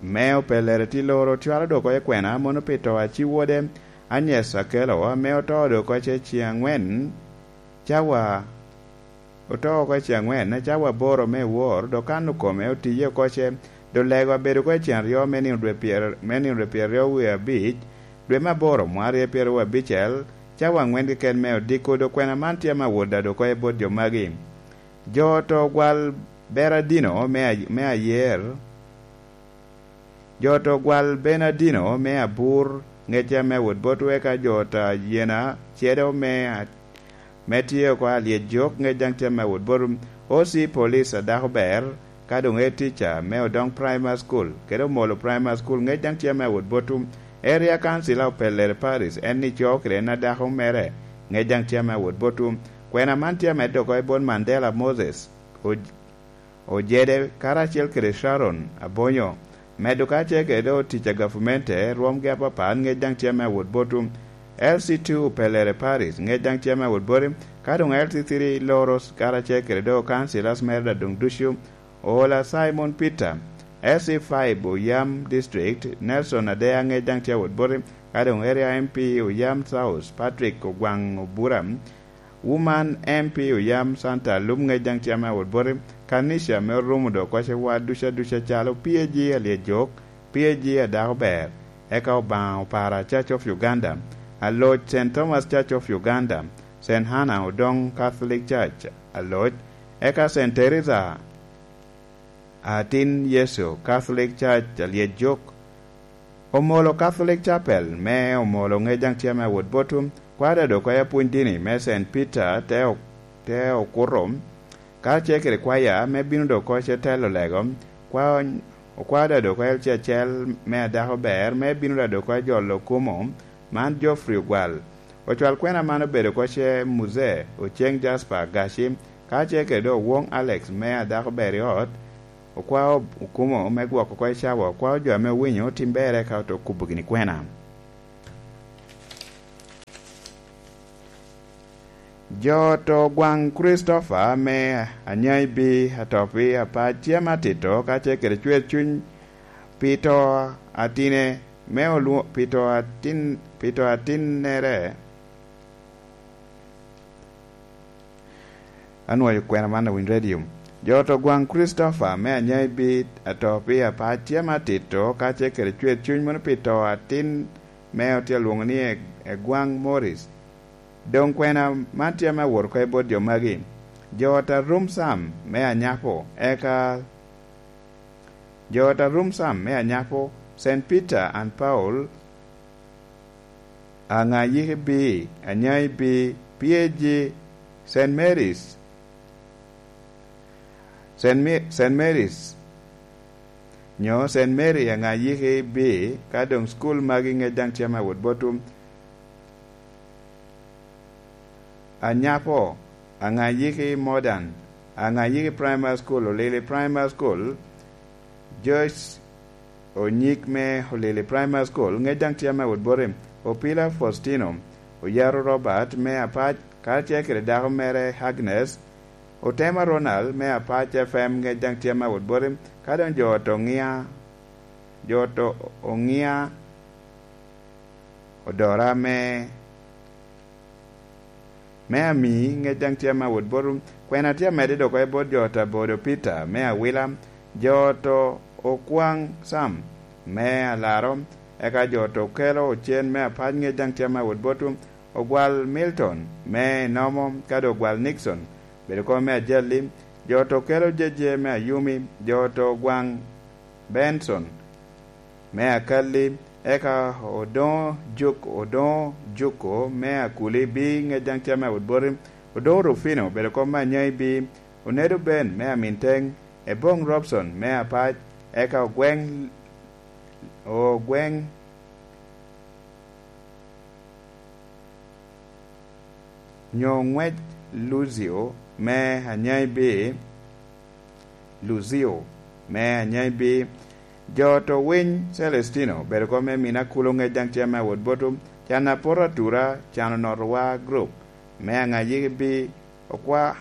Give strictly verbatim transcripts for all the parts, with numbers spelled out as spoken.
Me opellere ti loro cwalo dok oko i kwena mono pi to a ci wode Anyes Akelo, ame oto dok oko ce ciŋ angwen cawa, oto oko i ciŋ angwen cawa aboro me wor, dok kan okome otiye oko ce, dok lego abedo oko i ciŋ aryo me nino dwe pyer-, me nino dwe pyeraryo wie abic, dwe me aboro, mwarye pyeraryo abicel, cawa angwen keken me odiko, dok kwena man tye ame awot dado oko i bot jo magi. Jo oto gwal Beradino me a-, me ayer, jo oto gwal Benadino me abur, ŋec ame awot bot weka jo oto ayena cedo me a-, me tye oko alyec jok, ŋec daŋ tye ame awot bot O C police a dako ber, ka doŋ e tica me Odong Primary School, kede Omolo Primary School, ŋec daŋ tye ame awot bot Area Council a Opellere Parish, en ni co kede en a dako mere, ŋec daŋ tye ame awot bot. Kwena man tye amedde oko i bot Mandela Moses, o-, Ojede, karacel kede Sharon Abonyo. Medo ka ce kede do tic a gavmente, rwomgi apapat, ŋec daŋ tye ame awot bot. L C two Opellere Parish, ŋec daŋ tye ame awot bot. Ka doŋ L C three Loros, karacel kede do councillors mere doŋ ducu, Oola Simon Peter, S C five Oyam District, Nelson Adea, ŋec daŋ tye awot bot. Ka doŋ Area M P Oyam South, Patrick Ogwaŋ Obura, Woman M P Oyam Santa Alum, ŋec daŋ tye ame awot bot. Kanica me orumo dok oko ce wa duca duca calo P A G Alyejok, P A G a dako ber, eka Obaŋa Opara Church of Uganda, Aloc Saint Thomas Church of Uganda, Saint Hannah Odong Catholic Church, Aloc, eka Saint Teresa Atin Yecu Catholic Church Alyejok, Omolo Catholic Chapel me Omolo, ŋec daŋ tye ame awot bot. Kwada dok oko apwony dini me Saint Peter te o-, te okuto, ka ce kede kwaya me bino dok oko ce telo lego, kwa-, okwada dok oko L C acel me adako ber me bino dok oko jolo okumo, man Geoffrey Ogwal. Ocwal kwena man obedo oko ce Muzee Oceng Jasper Gaci, ka ce kede Owong Alex me adako ber i ot, okwao okumo me gwoko oko i cawa, okwao jo ame owinyo tim berre ka oto kubo gini kwena. Jo oto gwaŋ Christopher me Anyaibi Atopi Apac tye ame atito ka ce kede cwer cuny pi to atine me olwo-, pi to atin-, pi to atinnere. Anwoyo kwena man a Winy Radio. Jo oto gwaŋ Christopher me Anyaibi Atopi Apac tye ame atito ka ce kede cwer cuny mono pi to atin me otye alwoŋo ni E-, Egwaŋ Morris. Doŋ kwena man tye ame awot oko i bot jo magi. Jo ot a Rum Sam me Anyapo, eka jo ot a Rum Sam me Anyapo, Saint Peter and Paul, Aŋayiki B, Anyai B, P A G, Saint Mary's, Saint Mi-, Saint Mary's, nyo Saint Mary Aŋayiki B, ka doŋ school magi ŋec daŋ tye ame awot bot. Anyapo, Aŋayiki Modern, Aŋayiki Primary School, Olili Primary School, Joyce Onyik me Olili Primary School, ŋec daŋ tye ame awot bot. Opila Faustino, Oyaro Robert me Apac, karacel kede dako mere Agnes, Otema Ronald me Apac F M, ŋec daŋ tye ame awot bot. Ka doŋ jo ot Oŋia, jo ot Oŋia Odora me me Ami, ŋec daŋ tye ame awot bot. Kwena tye amedde dok oko i bot jo ot a Bodo Peter me Awila, jo ot Okwaŋ Sam me Alaro, eka jo ot Okelo Ocen me Apac, ŋec daŋ tye ame awot bot. Ogwal Milton me Enomo, ka doŋ Ogwal Nixon, bedo kop me Ajali, jo ot Okelo Jeje me Ayumi, jo ot Ogwaŋ Benson me Akalli, eka Odoŋo Juk-, Odoŋo Juko me Akuli B, ŋec daŋ tye ame awot bot. Odoŋo Rufino, bedo kop me Anyai B, Onedo Ben me Aminteng, Eboŋ Robson me Apac, eka Ogweŋ, Ogweŋ nyo Ŋwec Luzio me Anyai B, Luzio me Anyai B, jo ot Owiny Celestino, bedo kop me Mina Kulo, ŋec daŋ tye ame awot bot. Can Apoto Atura, Can Onotowa Group me Aŋayiki B, okwa-,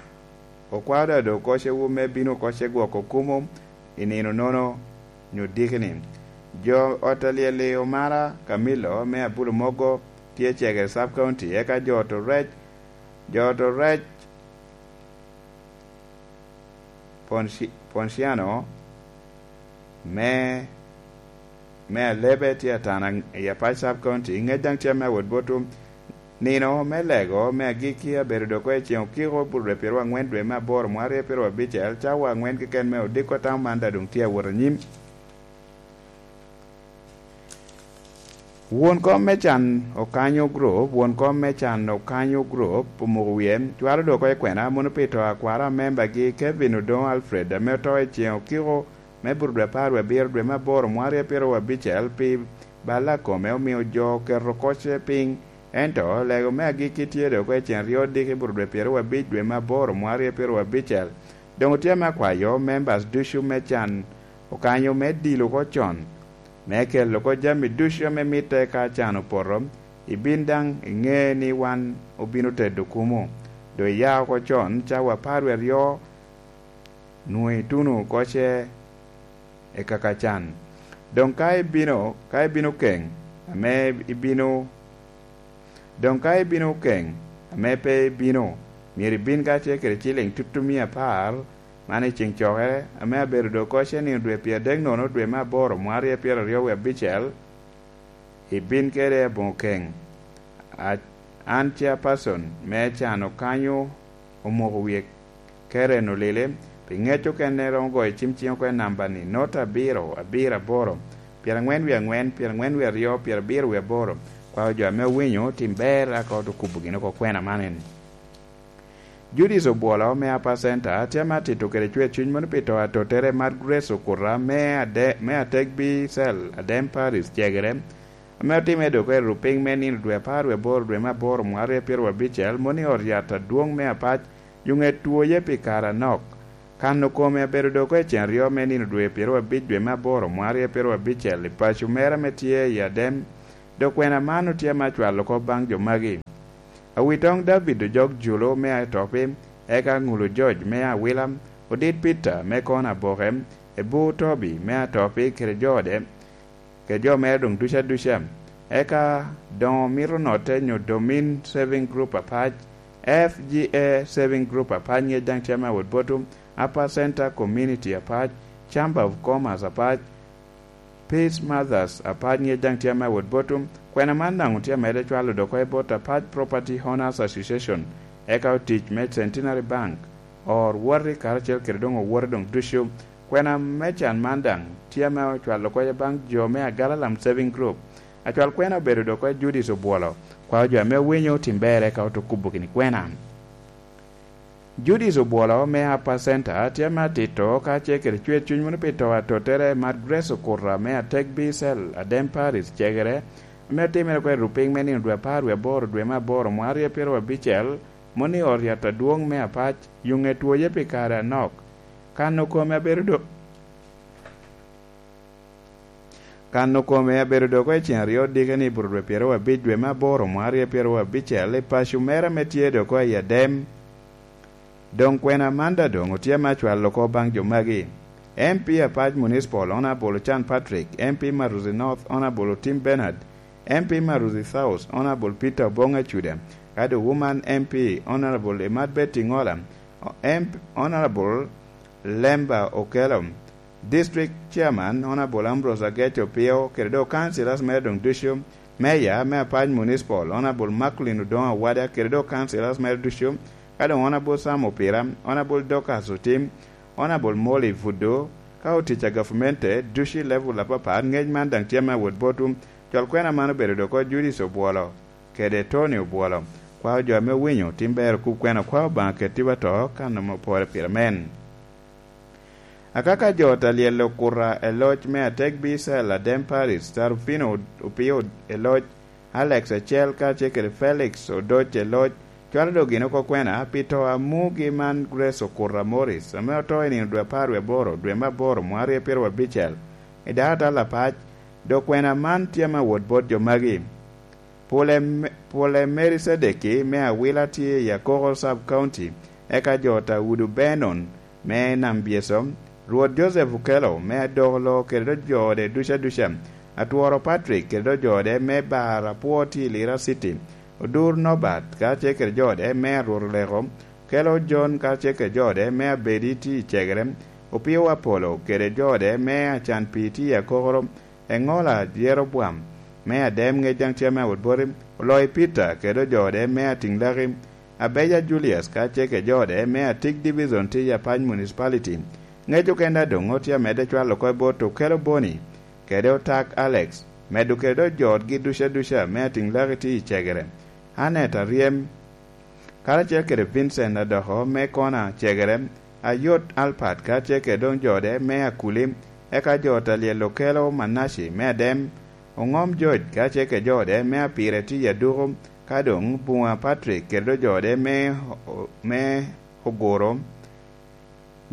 okwao dado oko ce wu me bino oko ce gwoko kumo i nino nono nyo dikini. Jo ot a lyel-li, Omara Camilo me Abulumogo tye cegere Sub County, eka jo oto rec, jo oto rec Ponci- Ponciano me me Alebe tye atana i Apac Sub County, ŋec daŋ tye me awot bot nino me lego me agikki abedo dok i ceŋ okiko burre pyeraryo aŋwen dwe me aboro mwaryo pyeraryo abicel, cawa aŋwen keken me odiko tam man daŋ doŋ tye awot anyim. Won kom me can Okanyo Group, won kom me can Okanyo Group omoko wie, cwalo dok oko i kwena mono pi to akwara a membagi Kevin Odongo Alfred ame oto i ceŋ okiko me bur dwe apar wie abiro dwe me aboro mwaryo pyeraryo abicel pi balla kome omio jo oketo kocce piny, ento lego me agikki tye dok oko i ceŋ ryo diki bur dwe pyeraryo abic dwe me aboro mwaryo pyeraryo abicel. Doŋ otye me akwayo members ducu me can Okanyo me dilo oko con, me kelo oko jami ducu ame mitte ka can opoto, ibin daŋ iŋe ni wan obino tedo kumo. Doŋ iya oko con cawa apar wie aryo, nwoŋo ituno kocce i kaka can. Doŋ ka ibino, ka ibino keŋ, ame ibino Doŋ ka ibino keŋ, ame pe ibino, myero ibin kacel kede ciliŋ tutumia apar, man i ceŋ cokere, ame abedo doŋ kocce nino dwe pyeradek nono dwe me aboro mwaryo pyeraryo wie abicel, ibin kede aboŋo keŋ. A- An chairperson me can Okanyo omoko wie Karen Olile, pi ŋec okene romo goyo cim ciŋ oko i namba-ni, nota abiro, abiro aboro, pyerangwen wie aŋwen, pyerangwen wie aryo, pyerabiro wie aboro. Kwao jo ame owinyo, tim ber aka oto kubo gin oko kwena man eni. Judith Obwolo me Upper Center tye ame atito kede cwer cuny mono pi to atottere Mark Grace Okuta me ade- me Ategbi Cell, Adem Parish, Cegere, ame otimme dok i rupiny me nino dwe apar wie aboro dwe me aboro mwaryo pyeraryo abicel, mono i ot yat adwoŋ me Apac, Yuŋet twoye pi kare anok. Kano kome abedo dok i ceŋ aryo me nino dwe pyeraryo abic dwe me aboro mwaryo pyeraryo abicel i paco mere ame tye i Adem, dok kwena man otye ame acwalo kop baŋ jo magi. Awitoŋ David Ojok Julo me Atopi, eka Ŋulu George me Awila, Odit Peter me Kona Aboke, Ebu Tobi me Atopi kede jo ode, kede jo mere doŋ ducu aduca. Eka doŋ omito notte nyo Domin Saving Group Apac, F G A Saving Group Apac ŋec daŋ tye ame awot botum, Upper Center Community Apac, Chamber of Commerce Apac, Peace Mothers Apac ŋec daŋ tye ame awot botum. Kwena man daŋ otye amede cwalo dok oko i bot Apac Property Owners Association, eka otic me Centenary Bank, or woti karacel kede doŋ owote doŋ ducu. Kwena me can man daŋ tye ame ocwalo kocce baŋ jo me Agalalam Saving Group. Acwal kwena obedo dok oko i Judith Obwolo. Kwao jo ame owinyo otim ber eka oto kubo gini kwena. Judith Obwolo me Upper Center tye ame atito kacel kede cwer cuny mono pi to atottere Mark Grace Okuta me Ategbi Cell, Adem Parish, Cegere, ame otimere oko i rupiny me nino dwe apar wie aboro dwe me aboro mwaryo pyeraryo abicel, mono i ot yat adwoŋ me Apac, Yuŋet twoye pi kare anok. Kano kome abedo do- Kano kome abedo dok oko i ceŋ aryo dike ni bur dwe pyeraryo abic dwe me aboro mwaryo pyeraryo abicel i paco mere ame tye dok oko i Adem. Doŋ kwena man daŋ doŋ otye ame acwalo oko baŋ jo magi: M P Apac Municipal, Honourable Ochan Patrick, M P Maruzi North, Honourable Otim Bernard, M P Maruzi South, Honourable Peter Obong Acuda, kadi Woman M P, Honourable Imat Betty Ngola, M-, Honourable Lemba Okello, District Chairman, Honourable Ambrose Agec Opio, kede doŋ councillors mere doŋ ducu, Mayor me Apac Municipal, Honourable Macklin Odongo Awada, kede doŋ councillors mere ducu, ka doŋ Honourable Sam Opira, Honourable Dorcas Otim, Honourable Molly Buddo, ka otic a gavmente ducu i level apapat, ŋec man daŋ tye ame awot botwu. Cwal kwena man obedo dok oko Judith Obwolo kede Tony Obwolo. Kwao jo ame owinyo, tim ber okub kwena, kwao Obaŋa ketiwa to, kan ame opore pire men. Akaka jo ta lyel okuta e loc me Atek Bicel, Adem Paris, Tarufino Opio e loc, Alex Acel kacel kede Felix Odoc e loc, cwalo dok gin oko kwena pi to a mugi man Grace Okuta Morris, ame oto i nino dwe apar wie aboro, dwe me aboro, mwaryo pyeraryo abicel, i dakatal Apac, dok kwena man tye ame awot bot jo magi. Pwole, Pwole Mary Cedeki me Awila tye i Akoko Sub County, eka jo ta Udu Benon me Nam Byeso, Rwot Joseph Okello me Adokolo kede dok jo ode ducu aduca, Atworo Patrick kede dok jo ode me Bar Apwo tye i Lira City, Odur Norbert kacel kede jo ode me Arwot Oleko, Okello John kacel kede jo ode me Abedi tye i Cegere, Opio Apollo kede jo ode me Acan Pii tye i Akokoro, Eŋola Jeroboam me Adem ŋec daŋ tye ame awot boti, Oloyi Peter kede dok jo ode me Atiŋ Laki, Abeja Julius kacel kede jo ode me Atik Division tye i Apac Municipality. Ŋec okene a doŋ tye amedde cwalo oko i bot Okello Boni kede Otak Alex, medo kede dok jo otgi ducu aduca me Atiŋ Laki tye i Cegere, Annet Aryem, karacel kede Vincent Adoko me Kona Cegere, Ayot Alpat karacel kede doŋ jo ode me Akuli, eka jo ta lyel Okello Manaci me Adem, Oŋom George karacel kede jo ode me Apire tye i Aduku, ka doŋ Buŋa Patrick kede doŋ jo ode me, me Oguro.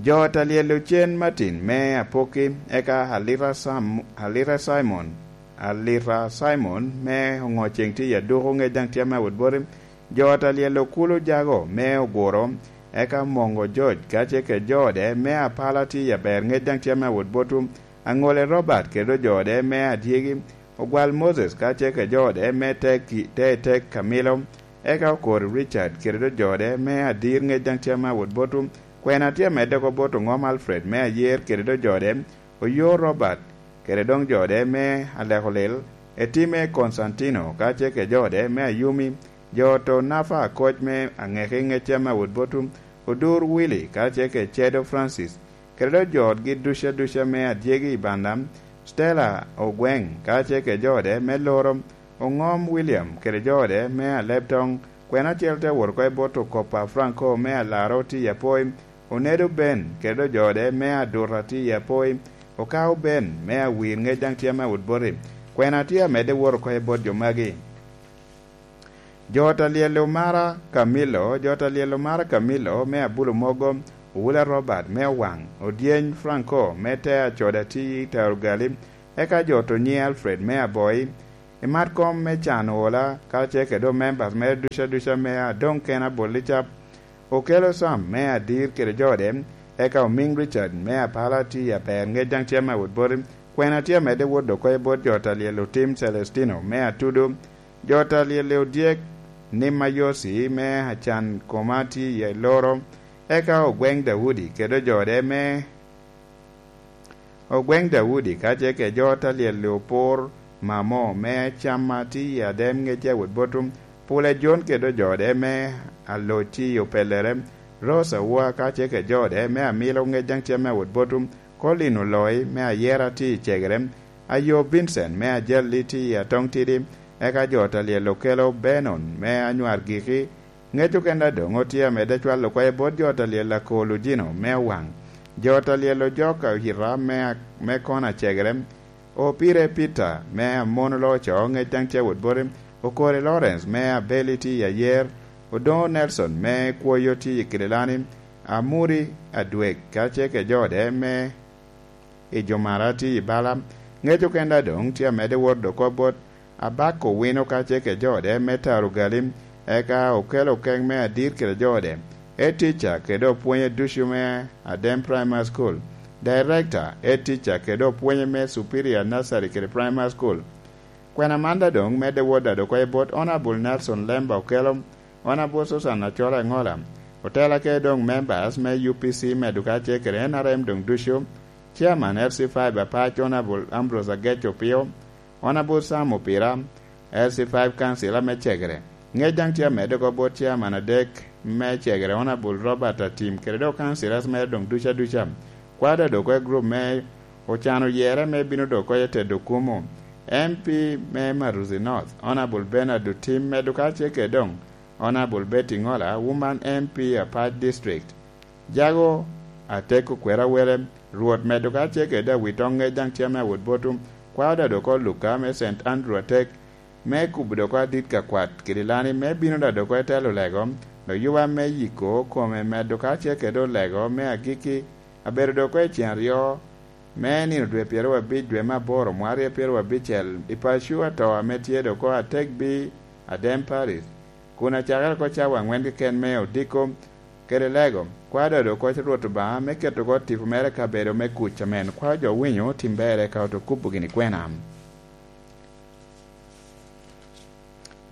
Jo ta lyel Ocen Martin me Apoki, eka Alita Sam-, Alita Simon, Alita Simon me Oŋoceŋ tye i Aduku ŋec daŋ tye ame awot boti. Jo ta lyel Okulu Jago me Oguro, eka Mongo George kacel kede jo ode me Apala tye i Aber ŋec daŋ tye ame awot botwu. Aŋole Robert kede doŋ jo ode me Adyegi, Ogwal Moses kacel kede jo ode me Teki-, Te-, Tek Kamilo, eka Okori Richard kede doŋ jo ode me Adir ŋec daŋ tye ame awot botwu. Kwena tye amedde oko bot Oŋom Alfred me Ayer kede doŋ jo ode, Oyo Robert kede doŋ jo ode me Alekolil, Etime Konstantino kacel kede jo ode me Ayumi, jo oto Nafa Akoc me Aŋeki ŋec tye ame awot botwu, Odur Willy kacel kede Cedo Francis, kede doŋ jo otgi ducu aduca me Adyegi i Banda, Stella Ogweŋ kacel kede jo ode me Loro, Oŋom William kede jo ode me Alebtoŋ, kwena acel te wot oko i bot Okopa Franco me Alaro tye i Apoi, Onedo Ben kede doŋ jo ode me Aduta tye i Apoi, Okao Ben me Awir ŋec daŋ tye ame awot boti. Kwena tye amedde wot oko i bot jo magi. Jo ta lyel Omara Camillo, jo ta lyel Omara Camillo me Abulo Mogo, Owula Robert me Owaŋ, Odyeny Franco me Te Acoda tye i Tarugali, eka jo Tonyi Alfred me Aboi, i mat kom me can ola, karacel kede doŋ members mere ducu aduca me adoŋ kena bot Licap, Okello Sam me Adir kede jo ode, eka Omiŋ Richard me Apala tye i Aber ŋec daŋ tye ame awot boti. Kwena tye amedde wot oko i bot jo ta lyel Otim Celestino me Atudo, jo ta lyel Odyek Nima Yosi me Acan Koma tye i Loro, eka Ogweŋ Daudi kede jo ode me Ogweŋ Daudi kacel kede jo ta lyel Opur Mamo me Camma tye i Adem ŋec daŋ awot botwu. Pule Jon kede doŋ jo ode me Aloc tye i Opellere, Rose Awa kacel kede jo ode me Amilo ŋec daŋ tye ame awot botwu. Colin Oloi me Ayera tye i Cegere, Ayo Vincent me Ajalli tye i Atoŋtidi, eka jo ta lyel Okello Benon me Anywar Giki, ŋec okene a doŋ otye amedde cwalo oko i bot jo ta lyel Akol Ojino me Owaŋ, jo ta lyel Ojok Oyita me, me Kona Cegere, Opire Peter me Amon Oloco ŋec daŋ tye awot boti, Okori Lawrence me Abeli tye i Ayer, Odoŋo Nelson me Kwoyo tye i Kililani, Amuri Adwek kacel kede jo ode me i Jomara tye i bala. Ŋec okene a doŋ tye amedde wot oko bot Abako Wino kacel kede jo ode me Taro Galim, eka Okello Okeŋ me Adir kede jo ode, Head Teacher kede opwonye ducu me Adem Primary School, Director, Head Teacher kede opwonye me Superior Nursery kede Primary School. Kwena man daŋ doŋ medde wot daŋ oko i bot Honourable Nelson Lemba Okello, Honourable Susan Acola Engola, otela kede doŋ members me U P C medo kacel kede N R M doŋ ducu, Chairman L C five Apac Honourable Ambrose Agec Opio, Honourable Sam Opira, L C five Council ame Cegere. Ŋec daŋ tye amedde oko bot Chairman adek me Cegere, Honourable Robert Atim, kede doŋ councillors mere doŋ ducu aduca. Kwada doŋ oko i group me ocano yere me bino doŋ oko i Tedo Kumu. M P me Maruzi North, Honourable Bernard Otim, medo kacel kede doŋ Honourable Betty Ngola, Woman M P Apac District. Jago Ateko Kwera Wele, Rwot medo kacel kede Awitoŋ ŋec daŋ tye ame awot botwu. Kwada doŋ oko Luka me Saint Andrew Atek, me kubo doŋ oko adit ka kwat Kililani, me bino daŋ doŋ oko i telo lego, dok yuba me yiko kome medo kacel kede olego me agikki, abedo doŋ oko i cen aryo me nino dwe pyeraryo abic dwe me aboro mwaka aryo pyeraryo abicel i paco ato ame tye doŋ oko Ategbi, Adem Parish, kun acakere oko cawa aŋwen keken me odiko, kede lego. Kwao dodo koc Rwot Obaŋa me keto oko tipo mere i kabedo me kuc amen. Kwao jo winyo tim berre ka oto kubo gini kwena.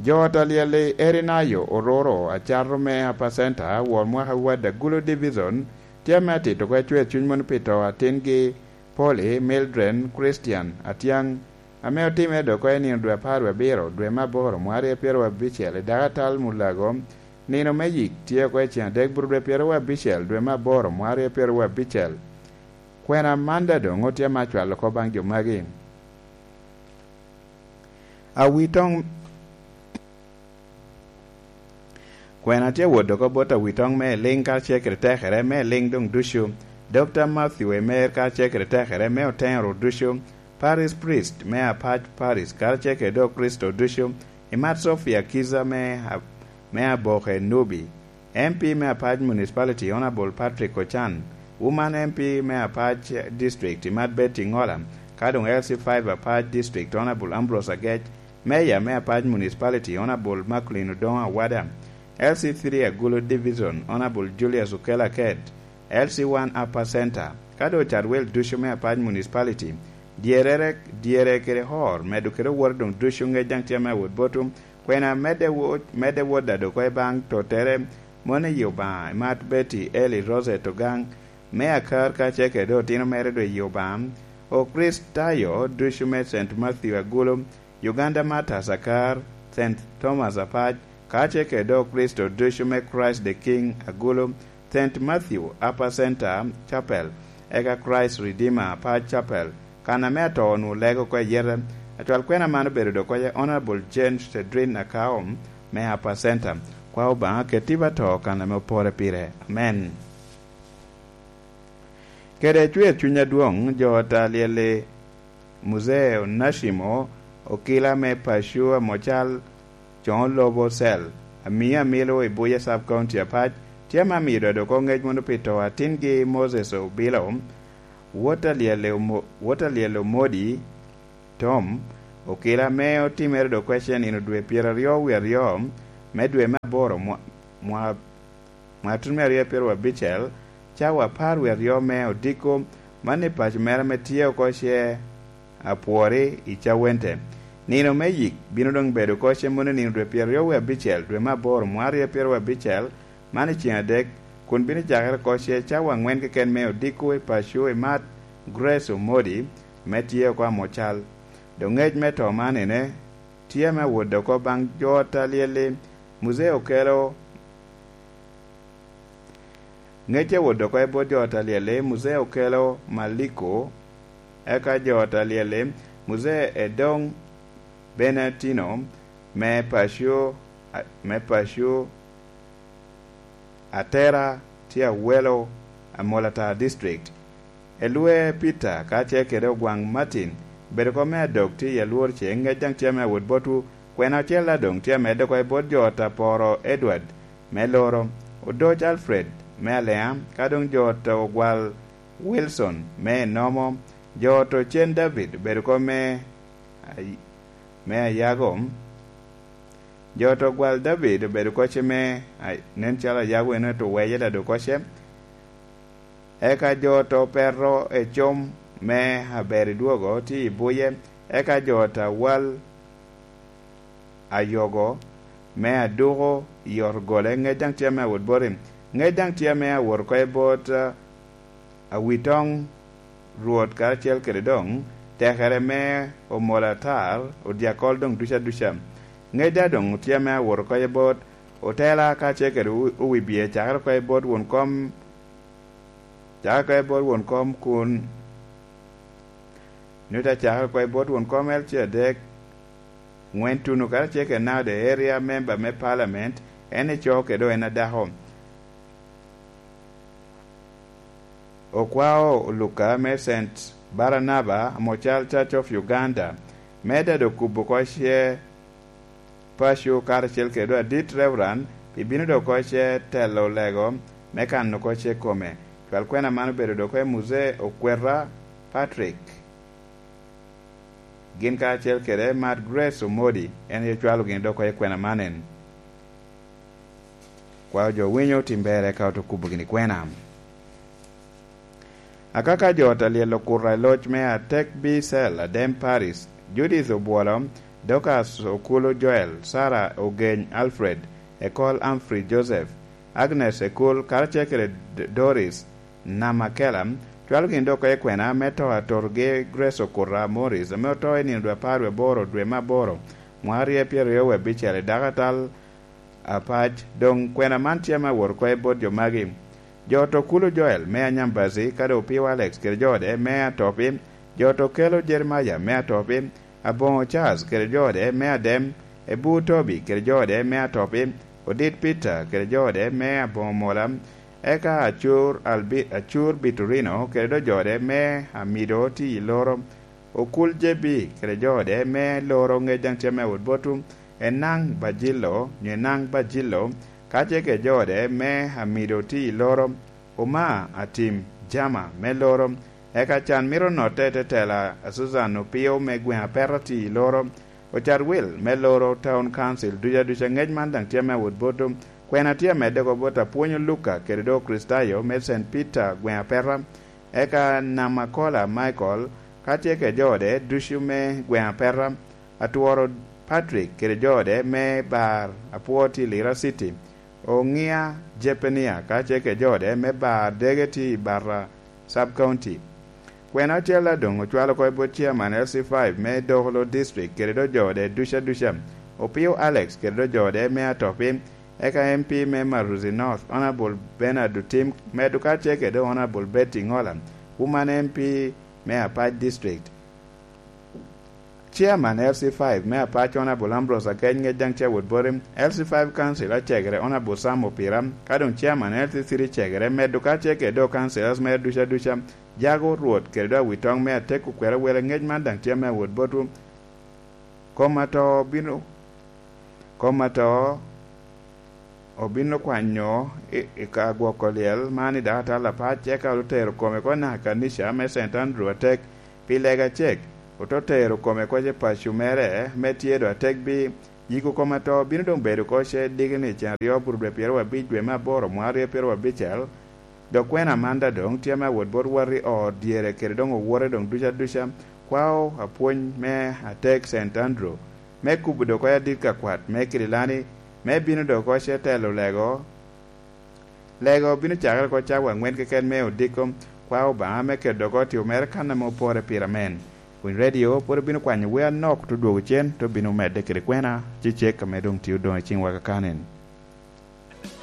Jo ot alyel i Erinayo, Ororo, Acato me Apacenta, wor mwaka Wadda Gulu Division, tye ame atito oko ecwer cuny mono pi to atingi Polly Mildred Christian Atiaŋ, ame otimere dok oko i nino dwe apar wie abiro, dwe me aboro, mwaka aryo pyeraryo abicel, i dako atal Mulago. Nino me yik tye oko i ceŋ adek buru dwe pyeraryo abicel, dwe me aboro, mwaka aryo pyeraryo abicel. Kwena man daŋ doŋ otye ame acwalo oko baŋ jo magi. Awitoŋ. Kwena tye wot oko bot awitoŋ me Eliŋ karacel kede tekere me Eliŋ doŋ ducu. Dokta Matthew Emer karacel kede tekere me Oteŋo Rwot ducu. Parish Priest me apac Parish karacel kede dok Kricito ducu. Imat Sophia Kiza me, me Aboke Nubi. M P me Apac Municipality, Honourable Patrick Ochan, Woman M P me Apac District, Imat Betty Ngola, ka doŋ L C five Apac District, Honourable Ambrose Agec, Mayor me Apac Municipality, Honourable Macklin Odongo Awada, L C three Agulu Division, Honourable Julius Okello Aket, L C one Upper Centre, ka doŋ Cadwel ducu me Apac Municipality, dyerere, dyere kede hor, medo kede owote doŋ ducu ŋec daŋ tye ame awot botwu, Kwena medde wot, medde wot daŋ dok oko i baŋ tottere, moni i Obaŋa, Imat Betty Eli Rosette Ogaŋ, me Akar kacel kede otino mere doŋ i Obaŋa, Okricitayo ducu me Saint Matthew Agulu, Uganda Martyrs Akar, Saint Thomas Apac, kacel kede Okricito ducu me Christ the King Agulu, Saint Matthew Upper Centre Chapel, eka Christ Redeemer Apac Chapel, kan ame ato onwoŋo lego oko i yete. Acwal kwena man obedo dok oko Honourable Jane Cedrin Akao me Upper Centre. Kwa Obaŋa keti ba to kan ame opore pire. Amen. Kede cwer cuny adwoŋ, jo ot alyel-li Muzee Onashimo Okila me Pacua Mocal Coŋo Lobo Cell, amio amilo i Buya Sub County Apac, tye ame amiyo dodo oko ŋec mono pi to atingi Moses Obilo, wot alyel Omo-, wot alyel Omodi Tom, okila ame otimere dok kwece nino dwe pyeraryo wie aryo me dwe me aboro mwa-, mwa-, mwaka tun me aryo pyeraryo abicel, cawa apar wie aryo me odiko, man i paco mere ame tye oko ce apwori i Cawente. Nino me yik bino doŋ bedo oko ce mono nino dwe pyeraryo wie abicel, dwe me aboro, mwaka aryo pyeraryo abicel, man i ceŋ adek, kun bino cakere oko ce cawa aŋwen keken me odiko i paco i mat Grace Omodi, ame tye oko Amocal. Doŋ ŋec me to man ene, tye ame awot oko baŋ jo ot alyel-li, Muzee Okelo Ŋec awot oko i bot jo ot alyel-li, Muzee Okelo Maliko, eka jo ot alyel-li, Muzee Edong Benatino, me paco, me paco Atera tye Awelo, Amolatar District. Elwe Peter kacel kede Ogwaŋ Martin, bedo oko me adok tye i alwor ce, ŋec daŋ tye ame awot botwu. Kwena ocel daŋ doŋ tye amedde oko i bot jo ot Aporo Edward me Loro, Odoc Alfred me Alea, ka doŋ jo ot Ogwal Wilson me Enomo, jo ot Ocen David bedo oko me Ay-, me Ayago, jo ot Ogwal David obedo oko ce me, ay-, nen calo Ayago eno to weye daŋ dok oko ce. Eka jo ot Opero Ecom me Aber i Dwogo tye i Buye, eka jo ot Awal Ayogo me Aduko i ot Gole, ŋec daŋ tye ame awot boti. Ŋec daŋ tye ame awot oko i bot, ah, Awitoŋ Rwot karacel kede doŋ tekere me Omolatar, odyakol doŋ duca duca. Ŋec daŋ doŋ tye ame awot oko i bot otela kacel kede o-, owibie, cakere oko i bot won kom, cakere oko i bot won kom kun, nyo te cakere oko i bot won kom L C adek, ŋwen tuno karacel kede naka the area member me parliament, en ico kede en adako. Okwao Luka me Saint Barnaba Mocal Church of Uganda, me dado kubo oko ce paco karacel kede adit Reverend pi bino dok oko ce telo lego me kano oko ce kome. Cwal kwena man obedo dok oko i Muzee Okwera Patrick. Gin karacel kede Mad Grace Omodi, en aye ocwalo gin dok oko i kwena man en. Kwao jo winyo tim ber eka oto kubo gini kwena. Akaka jo ot alyel okuto i loc me Atek B Cell, Adem Paris, Judith Obwolo, Dorcas Okulu Joel, Sarah Ogeny Alfred, Ekol Humphrey Joseph, Agnes Ekul, karacel kede D-, Doris Namakela, cwalo gin dok oko i kwena me to a totogi Grace Okuta Morris, ame oto i nino dwe apar wie aboro, dwe me aboro, mwaka aryo pyeraryo wie abicel, i dako atal Apac. Doŋ kwena man tye ame awot oko i bot jo magi: jo oto Kulu Joel me Anyambazi, kadi Opio Alex kede jo ode me Atopi, jo oto Kelo Jeremaya me Atopi, Aboŋo Charles kede jo ode me Adem, Ebur Tobi kede jo ode me Atopi, Odit Peter kede jo ode me Aboŋo Mola, eka Acur Albi-, Acur Biturino kede do jo ode me Amido tye i Loro, Okul J B kede jo ode me Loro ŋec daŋ tye ame awot botwu, Enaŋ Bajilo, nyo Enaŋ Bajilo, kacel kede jo ode me Amido tye i Loro, Oma Atim Jama me Loro, eka can mito notte i te tela a Susan Opio me gweŋ Apeta tye i Loro, Ocat Wil me Loro Town Council ducu aduca. Ŋec man daŋ tye ame awot botwu. Kwena tye amedde oko bot Apwonyo Luka kede do Kricitayo me Saint Peter gweŋ Apeta, eka Namakola Michael, ka tye kede jo ode ducu me gweŋ Apeta, Atworo Patrick kede jo ode me Bar Apwo tye i Lira City, Oŋia Jepenia, ka tye kede jo ode me Bar Dege tye i Barra Sub County. Kwena ocel a doŋ ocwalo oko i bot chairman L C five me Dokolo District kede do jo ode ducu aduca, Opio Alex kede do jo ode me Atopi, eka M P me Maruzi North, Honourable Bernard Otim, medo kacel kede Honourable Betty Ngola, Woman M P me Apac District. Chairman L C five me Apac, Honourable Ambrose Akeny, ŋec daŋ tye awot boti. L C five Council acegere, Honourable Sam Opira, ka doŋ Chairman L C three cegere, medo kacel kede do councillors mere ducu aduca, Jago Rwot kede do Awitoŋ me Atek okwero wele. Ŋec man daŋ tye ame awot botwu. Kom ato bino, kom ato obino kwanyo i, i ka gwoko lyel man i dakatal apac, eka otero kome oko naka kanica me Saint Andrew Atek pi lega cek, ote tero kome oko ce paco mere me tye do Atek bi yiko kom ato bino doŋ bedo oko ce digini cen aryo bur dwe pyeraryo abic dwe me aboro mwaka aryo pyeraryo abicel. Dok kwena man daŋ doŋ tye ame awot bot wati ot dyere kede doŋ owote doŋ ducu aduca. Kwao apwony me Atek Saint Andrew me kubo dok oko adit ka kwat me Kirilani, me bino dok oko ce telo lego. Lego bino cakere oko cawa aŋwen keken me odiko. Kwao Obaŋa me keto dok oko tio mere kan ame opore pire amen. Winy Radio pwod obino kwanyo wer anok, te dwogo cen, te obino medde kede kwena, cecek ame doŋ tye odoŋ i ciŋwa kakani.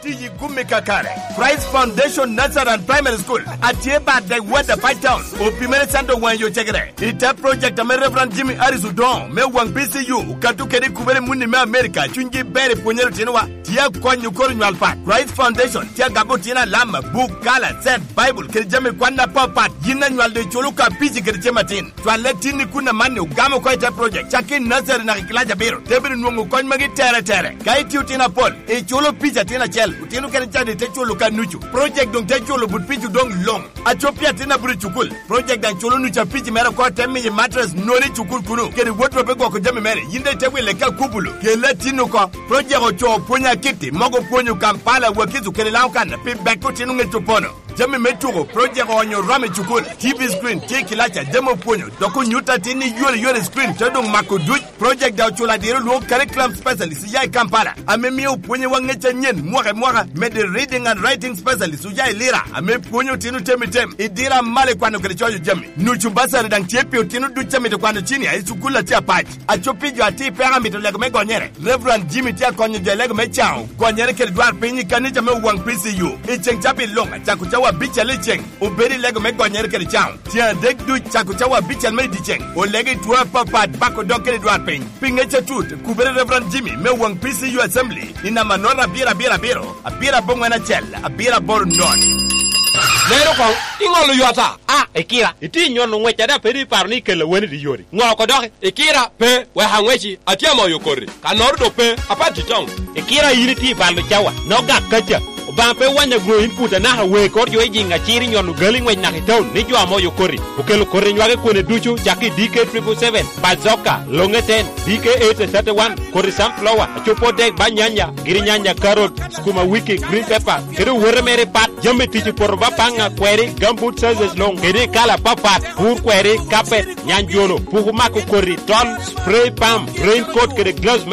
Tiyi gumi kakare. Christ Foundation Nursery and Primary School atye bad the Word of Five Town. Opimere Sando waŋ yo cegere. I te project ame Reverend Jimmy Harris Odongo me waŋ B C U okato kede i kubere muni me America, cunygi ber i pwonyere otinowa. Tye akonyo koro nywal pat. Christ Foundation tye agamo otino alama, buk, kala, set, Bible, kede jami kwan apapat. Yin anywal doŋ iculo ka pici kede cem atin. Cwalle tin i kun amanni ogamo oko i te project, cak i nursery naka i kilac abiro, te bino nwoŋo kony magi tere tere. Ka itye otino apol, iculo pici atin acel, otino kene cadi te culo ka nucu. Project doŋ te culo but pici odoŋ luŋ. Acop pi atin abiro i cukul, project daŋ culo nucu a pici mere oko, te miyi mattress noni i cukul kunu, kede wardrobe gwoko jami mere, yin daŋ ite wile ka kubulu. Kelle atin oko, project ocoo pwony akitti, mogo pwonyo Kampala, Wakiso kede Laŋo kan, pi bek otino ŋec opono. Jami me tuko, project oonyo rom i cukul, T V screen tye i kilaca, jami opwonyo, dok onyuto atin ni yore yore screen te doŋ mako duc. Project daŋ oculo adiro lwongo curriculum specialist oya i Kampala, ame mio opwonyowa ŋec anyen mwaka i mwaka, mede reading and writing specialist oya i Lira, ame pwonyo otino tem i tem, i diro amalo i kwano kede coyo jami. Nucu basari daŋ tye pi otino duc a mito kwano cinia i cukul a tye apac. Acop pi jo atir peko amito lego me gonyere. Reverend Jimmy tye akonyo jo i lego me caŋo gonyere kede dwar piny i kanica me Owaŋ P C U. I ceŋ cabit luŋ, acako cawa abicel i ceŋ, obedo i lego me gonyere kede caŋo. Tyen adek duc, cako cawa abicel me i dyeceŋ, olego i two apapat, bako dog kede dwar piny. Pi ŋec atut, kubere Reverend Jimmy me Owaŋ P C U Assembly i namba note abiro abiro abiro, abiro aboŋwen acel, abiro aboro note. Lero koŋ, iŋolo yota. A, Ikira, itye nyono ŋwec ada pe iparo ni ikelo aweni i yori? Ŋo oko doki? Ikira, pe, wek aŋweci, atye amoyo koti. Kannoro dok pe, apat itoŋ. Ikira, in itye i balo cawa, nok gak kaca. Obaŋa pe wanyo aŋo input anaka wee kor jo i jiŋ acir i nyono gali ŋwec naka i taun ni jo ame oyo koti. Okelo koti nywage kwene ducu cak i D K triple seven, Bazooka, Longe ten, D K eight thirty-one, koti sunflower, acoppo dek ba nyanya, giri nyanya, carrot, sukuma wiki, green pepper, kede owote mere pat. Jami tic i poto ba paŋa, kweri, gambut sizes luŋ, kede i kala papat, pur kweri, kapet, nyanjono, puku mako koti, tol, spray pump, raincoat kede gloves